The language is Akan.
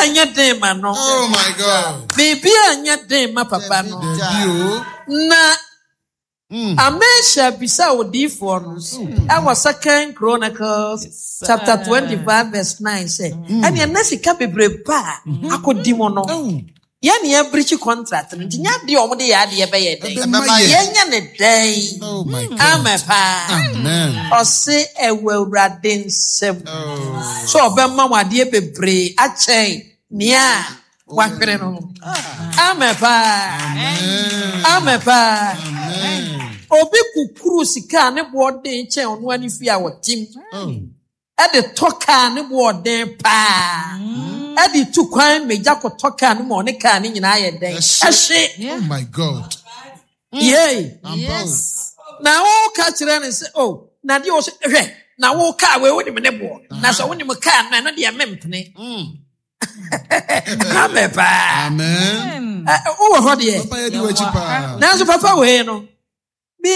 Biribi a nyɛ den ma no. Oh my God. Biribi a nyɛ den ma papa no. Dabi o. Na Amasia bisaa odiyifoɔ no ɛwɔ Second Chronicles chapter 25 verse 9 sɛ, ɛneɛ na sika bebrebe a akɔdi mu no, yɛne yɛabirikyi contract no nti nyɛ adeɛ a wɔde yɛ adeɛ bɛyɛ dɛn? Ɛbɛma yɛn. Yɛnyɛ ne dɛn? Oh my God. Amen paa. Amen. Ɔse ɛwɔ Awurade nsam sɛ ɔbɛma wo adeɛ bebree akyɛn nea wahwere no. Amen paa. Amen paa. Obi kukuru sika a ne boɔ den kyɛn ɔno ani fie a wɔtem. Ɛde tɔ kaa ne boɔ den paa. Ɛde tu kwan megya kɔtɔ kaa no ma ɔne kaa no nyinaa yɛ dɛn? Ɛhye. Oh my God. Yei. Yes. Na woka kyerɛ no sɛ, oh, na deɛ ɔsɛ hwɛ, na wo kaa wei wonim ne boɔ. Na sɛ wonim kaa no ɛno deɛ mempene. Amen paa. Amen. Wowɔ hɔ deɛ. Papa yɛ di w'akyi paa. Nanso papa wei no.